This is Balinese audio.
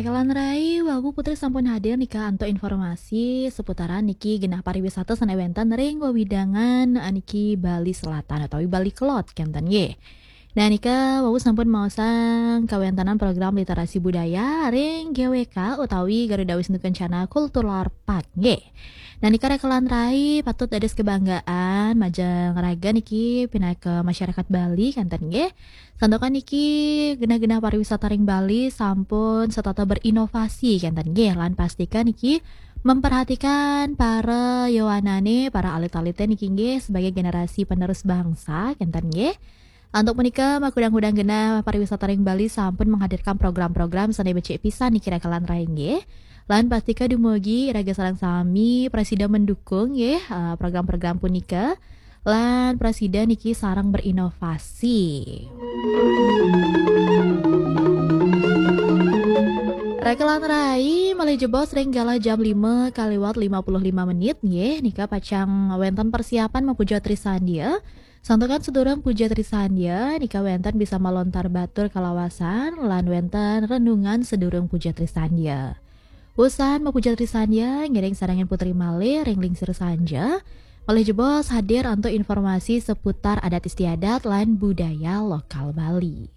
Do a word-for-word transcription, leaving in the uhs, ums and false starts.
Kalan rai, wawu Putri sampun hadir nika antuk informasi seputaran niki genah pariwisata sane wenten ring wewidangan niki Bali Selatan utawi Bali Kelod kenten nggih. Nah nika wawu sampun maosang kawentenan program literasi budaya ring G W K utawi Garuda Wisnu Kencana Cultural Park nggih. Nah nika rekelan rai patut dados kebanggaan majeng raga niki pinaka masyarakat Bali kenten nggih. Santukan niki genah-genah pariwisata ring Bali sampun setata berinovasi kenten nggih lan pastika niki memperhatikan para yowanane, para alit-alite niki nggih sebagai generasi penerus bangsa kenten nggih. Antuk punika makudang-kudang genah pariwisata ring Bali sampun menghadirkan program-program sane becik pisan niki rekelan rai nggih. Lan pastika dumugi raga sareng sami prasida mendukung nggih eh, program-program punika. Lan prasida niki sareng berinovasi. Rekelan rai malih jebos ring galah jam lima kaliwat lima puluh lima menit nggih nika pacang wenten persiapan mapuja Trisandya. Santukan sedurung puja Trisandya nika wenten bisa malontar batur kalawasan lan wenten renungan sedurung puja Trisandya. Usan mapuja Trisandya ngiring sarengan putri malih ring lingsir sanja. Malih jebos hadir antuk informasi seputar adat istiadat lan budaya lokal Bali.